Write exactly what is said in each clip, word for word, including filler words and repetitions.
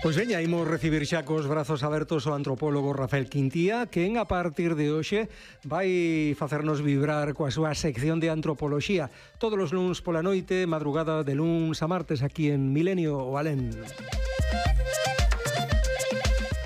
Pois veña, imos recibir xa cos brazos abertos o antropólogo Rafael Quintía, quen a partir de hoxe vai facernos vibrar coa súa sección de antropoloxía todos os luns pola noite, madrugada de luns a martes aquí en Milenio o Alén.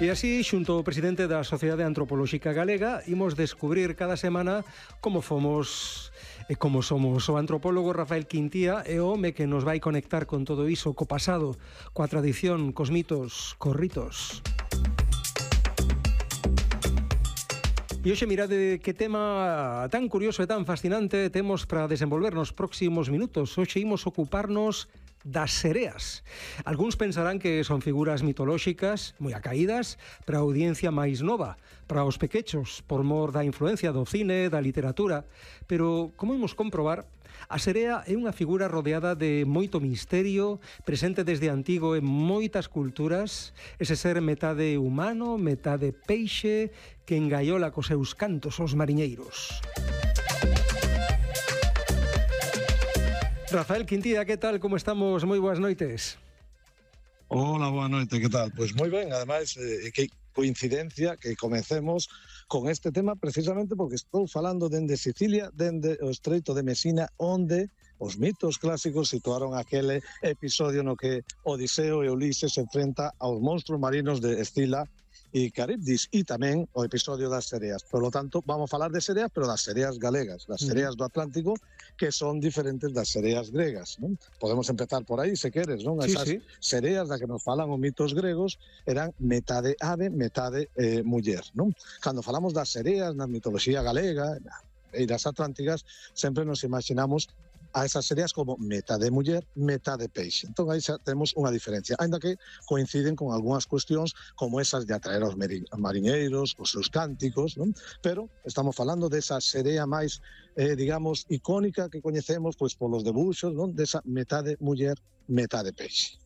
E así, xunto ao presidente da Sociedade Antropolóxica Galega, imos descubrir cada semana como fomos e como somos. O antropólogo Rafael Quintía é o home que nos vai conectar con todo iso, co pasado, coa tradición, cos mitos, cos ritos. E hoxe mirade que tema tan curioso e tan fascinante temos para desenvolver nos próximos minutos. Hoxe imos ocuparnos das sereas. Algúns pensarán que son figuras mitolóxicas moi acaídas para a audiencia máis nova, para os pequechos, por mor da influencia do cine, da literatura, pero como imos comprobar, a serea é unha figura rodeada de moito misterio, presente desde antigo en moitas culturas, ese ser metade humano, metade peixe, que engaiola cos seus cantos os mariñeiros. Rafael Quintía, que tal? Como estamos? Moi boas noites. Hola, boa noite, que tal? Pois moi ben, ademais, eh, que coincidencia que comecemos con este tema precisamente porque estou falando dende Sicilia, dende o Estreito de Mesina, onde os mitos clásicos situaron aquele episodio no que Odiseo e Ulises se enfrenta aos monstruos marinos de Escila e Caribdis, e tamén o episodio das sereas. Por lo tanto, vamos a falar de sereas, pero das sereas galegas, das sereas do Atlántico, que son diferentes das sereas gregas, non? Podemos empezar por aí, se queres, non? Sí, Esas sí. sereas da que nos falan os mitos gregos eran metade ave, metade eh, muller, non? Cando falamos das sereas na mitoloxía galega e das atlánticas, sempre nos imaginamos a esas sereas como metade muller, metade peixe. Entón aí xa temos unha diferencia, ainda que coinciden con algunhas cuestións como esas de atraer aos mariñeiros, os seus cánticos, non? Pero estamos falando desa serea máis, eh, digamos, icónica que coñecemos pois polos debuxos, non? Desa metade muller, metade peixe.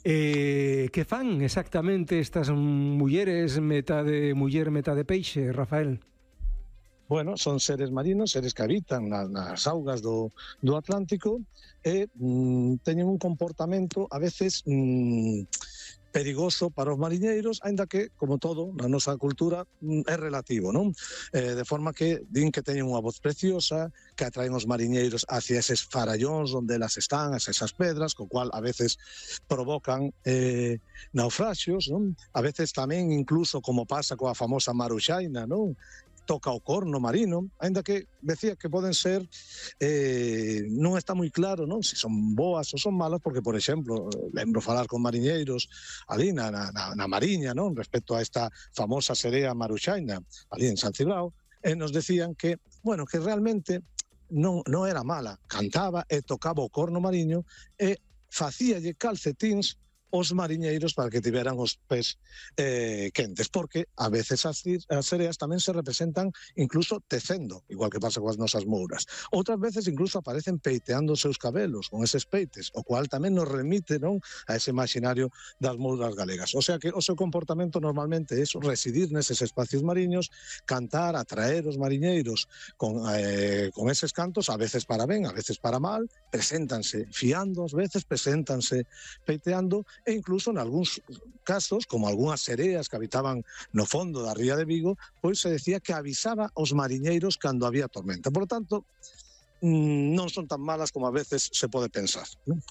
Eh, que fan exactamente estas mulleres metade muller, metade peixe, Rafael? Bueno, son seres marinos, seres que habitan na, nas augas do, do Atlántico e mm, teñen un comportamento a veces mm, perigoso para os mariñeiros, aínda que, como todo, na nosa cultura mm, é relativo, non? Eh, de forma que din que teñen unha voz preciosa, que atraen os mariñeiros hacia eses farallóns onde elas están, hacia esas pedras, co cual a veces provocan eh, naufraxios, non? A veces tamén, incluso, como pasa coa famosa Maruxaina, non? Toca o corno marino, aínda que decía que poden ser, eh, non está moi claro, non? Se son boas ou son malas, porque, por exemplo, lembro falar con mariñeiros ali na, na, na Mariña, non? Respecto a esta famosa serea Maruxaina, ali en San Cibrao, e nos decían que, bueno, que realmente non, non era mala, cantaba e tocaba o corno mariño e facíalle calcetíns os mariñeiros para que tiveran os pés eh, quentes, porque a veces as, as sereas tamén se representan incluso tecendo, igual que pasa coas nosas mouras. Outras veces incluso aparecen peiteando os seus cabelos con eses peites, o cual tamén nos remite, non, a ese imaginario das mouras galegas. O sea que o seu comportamento normalmente é residir neses espacios mariños, cantar, atraer os mariñeiros con, eh, con eses cantos, a veces para ben, a veces para mal, preséntanse fiando, ás veces preséntanse peiteando, e incluso en algúns casos, como algunhas sereas que habitaban no fondo da ría de Vigo, pois se decía que avisaba aos mariñeiros cando había tormenta. Por lo tanto, non son tan malas como a veces se pode pensar, non?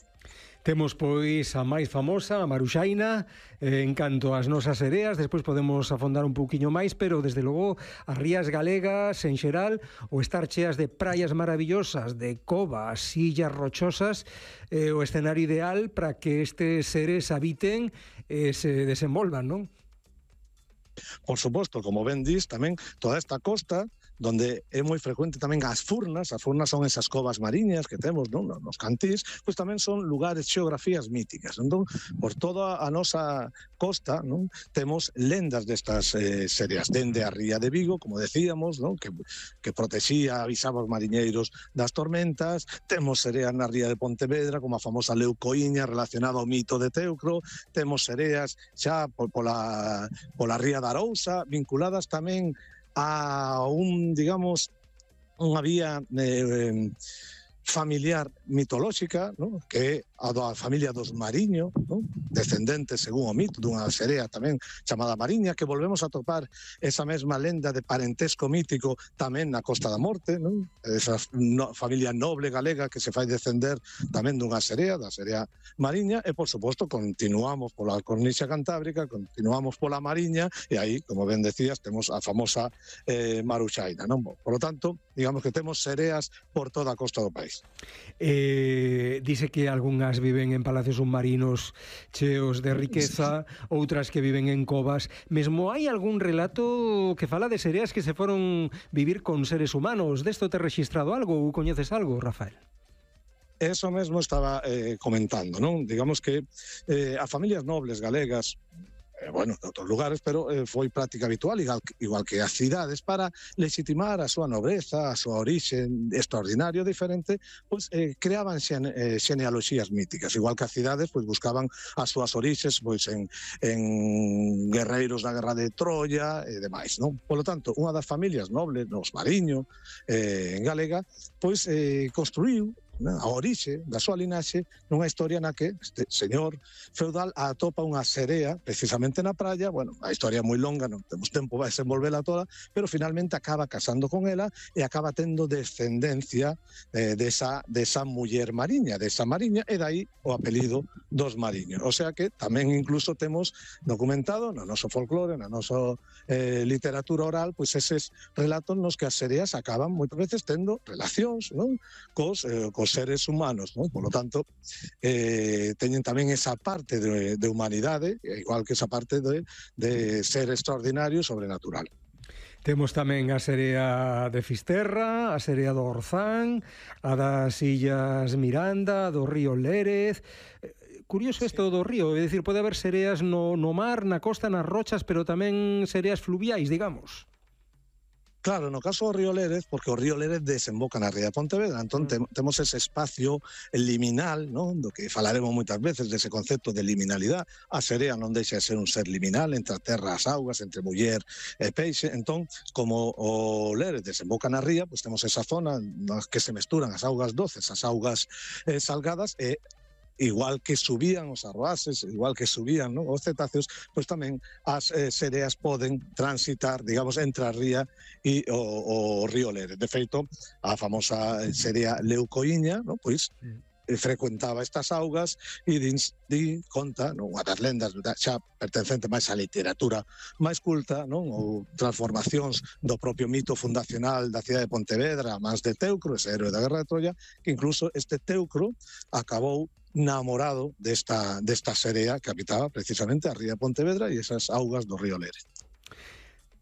Temos, pois, a máis famosa, a Maruxaina, eh, en canto ás nosas sereas, despois podemos afondar un pouquiño máis, pero, desde logo, as rías galegas, en xeral, o estar cheas de praias maravillosas, de covas, illas rochosas, eh, o escenario ideal para que estes seres habiten e se desenvolvan, non? Por suposto, como ben dis, tamén toda esta costa, donde é moi frecuente tamén as furnas, as furnas son esas covas mariñas que temos, non, nos cantís, pois tamén son lugares, xeografías míticas. Entón, por toda a nosa costa, non, temos lendas destas eh, sereas, dende a ría de Vigo, como decíamos, non, que, que protexía, avisaba os mariñeiros das tormentas, temos sereas na ría de Pontevedra, como a famosa Leucoíña, relacionada ao mito de Teucro, temos sereas xa pola, pola ría da Arousa, vinculadas tamén a un, digamos, unha vía eh, familiar mitolóxica, ¿no? Que é a da familia dos Mariño, ¿no? descendentes, según o mito, dunha serea tamén chamada Mariña, que volvemos a topar esa mesma lenda de parentesco mítico tamén na Costa da Morte, non? Esa no, familia noble galega que se fai descender tamén dunha serea, da serea Mariña, e por suposto continuamos pola cornixa cantábrica, continuamos pola Mariña, e aí, como ben decías, temos a famosa eh, Maruxaina, non? Por lo tanto, digamos que temos sereas por toda a costa do país. Eh, dice que algunhas viven en palacios submarinos cheos de riqueza, outras que viven en covas. Mesmo hai algún relato que fala de sereas que se foron vivir con seres humanos. Desto te registrado algo ou coñeces algo, Rafael? Eso mesmo estaba eh, comentando, non? Digamos que eh, a familias nobles galegas, eh, bueno, de outros lugares, pero eh, foi práctica habitual, igual, igual que as cidades, para legitimar a súa nobreza, a súa orixe extraordinario, diferente, pois eh, creaban xene, eh, xenealoxías míticas, igual que as cidades pois buscaban as súas orixes pois en, en guerreiros da guerra de Troia e demais, non? Por lo tanto, unha das familias nobles, nos Mariño, eh, en galega, pois eh, construíu a orixe da súa linaxe nunha historia na que este señor feudal atopa unha serea precisamente na praia. Bueno, a historia é moi longa, non temos tempo para desenvolvela toda, pero finalmente acaba casando con ela e acaba tendo descendencia eh, desa, desa muller mariña, desa mariña, e dai o apelido dos mariños. O sea que tamén incluso temos documentado no noso folclore, na nosa eh, literatura oral, pois eses relatos nos que as sereas acaban moitas veces tendo relacións, non? Cos, eh, cos seres humanos, non? Por lo tanto, eh, teñen tamén esa parte de, de humanidade, igual que esa parte de, de ser extraordinario e sobrenatural. Temos tamén a serea de Fisterra, a serea do Orzán, a das Illas Miranda, do río Lérez. Curioso isto do río, é dicir, pode haber sereas no, no mar, na costa, nas rochas, pero tamén sereas fluviais, digamos. Claro, no caso do río Lérez, porque o río Lérez desemboca na ría de Pontevedra, entón te, temos ese espacio liminal, non? Do que falaremos moitas veces dese concepto de liminalidade. A serea non deixa de ser un ser liminal entre a terra e as augas, entre muller e peixe. Entón, como o Lérez desemboca na ría, pois temos esa zona nas que se mesturan as augas doces, as augas eh, salgadas, e igual que subían os arroaces, igual que subían, ¿no?, os cetáceos, pois tamén as eh, sereas poden transitar, digamos, entre a ría e o, o río Lérez. De feito, a famosa serea Leucoíña, ¿no?, pois eh, frecuentaba estas augas e din, din conta, non, unha das lendas xa pertencente máis á literatura máis culta, non, ou transformacións do propio mito fundacional da cidade de Pontevedra, máis de Teucro, ese héroe da guerra de Troia, que incluso este Teucro acabou namorado desta, desta serea que habitaba precisamente a ría de Pontevedra e esas augas do río Lérez.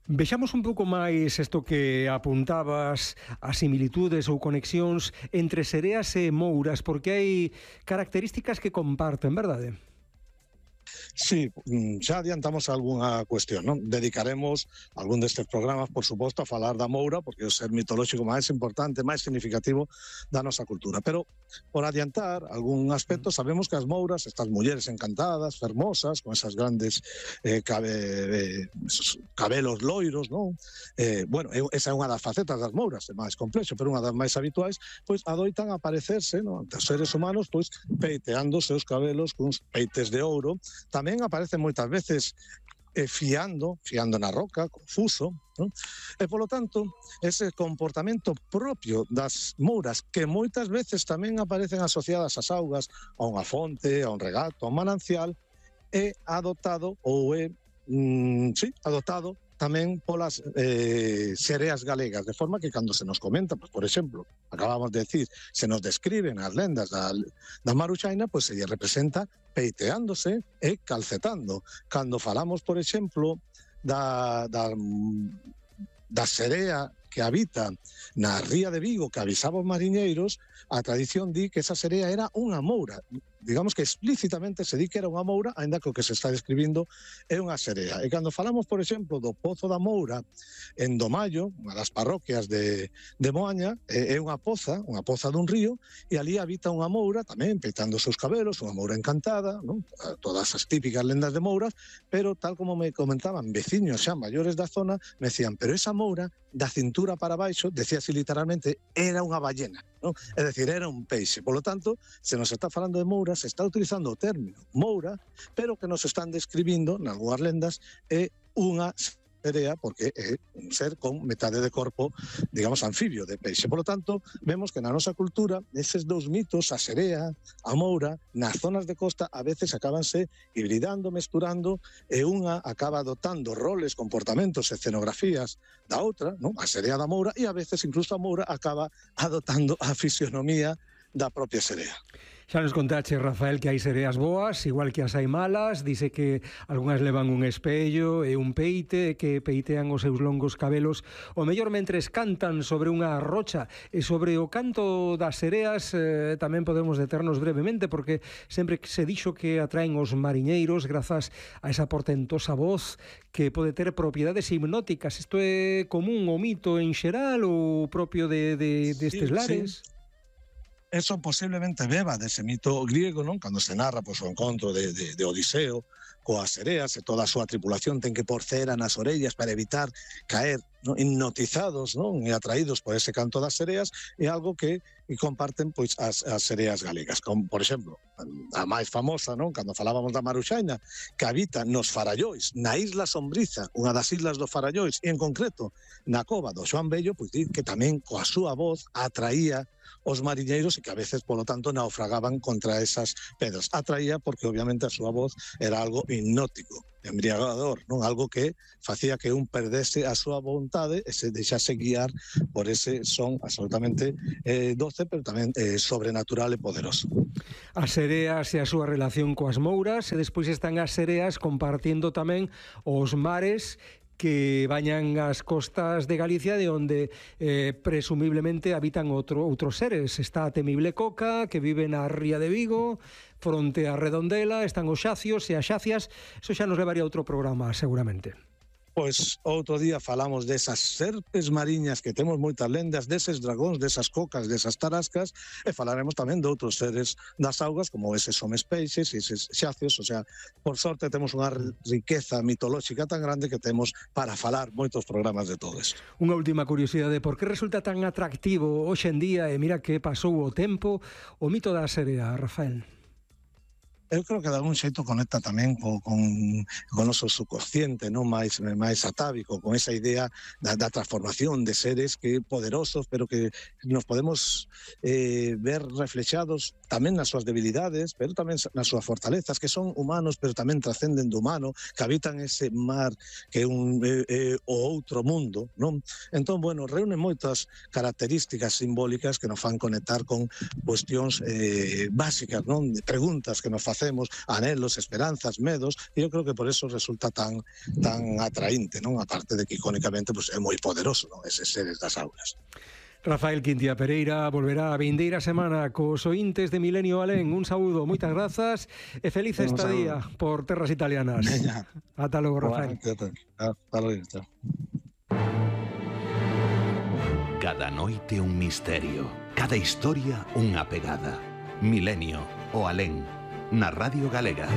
Vexamos un pouco máis isto que apuntabas, as similitudes ou conexións entre sereas e mouras, porque hai características que comparten, verdade? Sí, xa adiantamos algunha cuestión, non? Dedicaremos algún destes programas, por suposto, a falar da moura, porque é o ser mitolóxico máis importante, máis significativo da nosa cultura. Pero, por adiantar algún aspecto, sabemos que as mouras, estas mulleres encantadas, fermosas, con esas grandes eh, cabe, eh, esos cabelos loiros, non? Eh, bueno, esa é unha das facetas das mouras, é máis complexo, pero unha das máis habituais, pois adoitan aparecerse, non, ante os seres humanos, pois peiteando os seus cabelos cuns peites de ouro. Tamén aparecen moitas veces eh, fiando, fiando na roca, confuso, non? E, polo tanto, ese comportamento propio das mouras, que moitas veces tamén aparecen asociadas ás augas, a unha fonte, a un regato, a un manancial, é adoptado ou é, mm, sí, adoptado tamén polas eh, sereas galegas, de forma que cando se nos comenta, pues, por exemplo, acabamos de decir, se nos describen as lendas da, da Maruxaina, pois pues, se lle representa peiteándose e calcetando. Cando falamos, por exemplo, da, da, da serea que habita na ría de Vigo, que avisaba os mariñeiros, a tradición di que esa serea era unha moura. Digamos que explícitamente se di que era unha moura, aínda que o que se está describindo é unha serea. E cando falamos, por exemplo, do Pozo da Moura en Domallo, unha das parroquias de, de Moaña, é unha poza, unha poza dun río, e ali habita unha moura, tamén peitando os seus cabelos, unha moura encantada, non? Todas as típicas lendas de mouras, pero tal como me comentaban veciños xa maiores da zona, me decían, pero esa moura da cintura para baixo, decía así literalmente, era unha ballena, non? É dicir, era un peixe. Por lo tanto, se nos está falando de mouras, Moura se está utilizando o término Moura, pero que nos están describindo, nalgúas lendas, é unha serea porque é un ser con metade de corpo, digamos, anfibio de peixe. Por lo tanto, vemos que na nosa cultura eses dous mitos, a serea, a moura, nas zonas de costa a veces acabanse hibridando, mesturando, e unha acaba adoptando roles, comportamentos, escenografías da outra, non? A serea da moura, e a veces incluso a moura acaba adoptando a fisionomía da propia serea. Xa nos contache, Rafael, que hai sereas boas, igual que as hai malas. Dice que algunhas levan un espello e un peite, que peitean os seus longos cabelos, o mellor mentres cantan sobre unha rocha. E sobre o canto das sereas eh, tamén podemos deternos brevemente, porque sempre se dixo que atraen os mariñeiros grazas a esa portentosa voz que pode ter propiedades hipnóticas. Isto é común o mito en xeral ou propio de, de, destes sí, lares? Sí. Eso posiblemente beba dese mito griego, non? Cando se narra pois, o encontro de, de, de Odiseo coas sereas e toda a súa tripulación ten que por cera nas orellas para evitar caer, non? Hipnotizados, non? E atraídos por ese canto das sereas, é algo que comparten pois as, as sereas galegas, como por exemplo a máis famosa, non? Cando falábamos da Maruxaina, que habita nos Farallois, na Isla Sombriza, unha das islas do Farallois, e en concreto na cova do Xoán Bello, pois di que tamén coa súa voz atraía os mariñeiros e que a veces, polo tanto, naufragaban contra esas pedras. Atraía porque, obviamente, a súa voz era algo hipnótico, embriagador, non? Algo que facía que un perdese a súa vontade e se deixase guiar por ese son absolutamente eh, doce, pero tamén eh, sobrenatural e poderoso. As sereas e a súa relación coas mouras, e despois están as sereas compartindo tamén os mares que bañan as costas de Galicia, de onde eh, presumiblemente habitan outro, outros seres. Está a temible Coca, que vive na ría de Vigo, fronte a Redondela, están os xacios e as xacias. Eso xa nos levaría a outro programa, seguramente. Pois outro día falamos desas serpes mariñas que temos moitas lendas, deses dragóns, desas cocas, desas tarascas, e falaremos tamén de outros seres das augas, como eses homes peixes e eses xacios. O sea, por sorte temos unha riqueza mitolóxica tan grande que temos para falar moitos programas de todo isto. Unha última curiosidade, por que resulta tan atractivo hoxe en día, e mira que pasou o tempo, o mito da serea, Rafael? Eu creo que de algún xeito conecta tamén co, con, con o noso subconsciente, non máis máis atávico, con esa idea da, da transformación de seres que poderosos, pero que nos podemos eh, ver reflexados tamén nas súas debilidades, pero tamén nas súas fortalezas, que son humanos, pero tamén trascenden do humano, que habitan ese mar que é un, eh, eh, o outro mundo, non? Entón, bueno, reúne moitas características simbólicas que nos fan conectar con cuestións eh, básicas, non? Preguntas que nos facemos, anhelos, esperanzas, medos, e eu creo que por eso resulta tan tan atraínte, non? Aparte de que icónicamente pues, é moi poderoso, non? Eses seres das augas. Rafael Quintia Pereira volverá a vindeira semana cos ointes de Milenio Alén. Un saúdo, moitas grazas e feliz Un estadía saúdo. por terras italianas. Veña. Ata logo, Rafael. Ata logo. Cada noite un misterio, cada historia unha pegada. Milenio o Alén, na Radio Galega.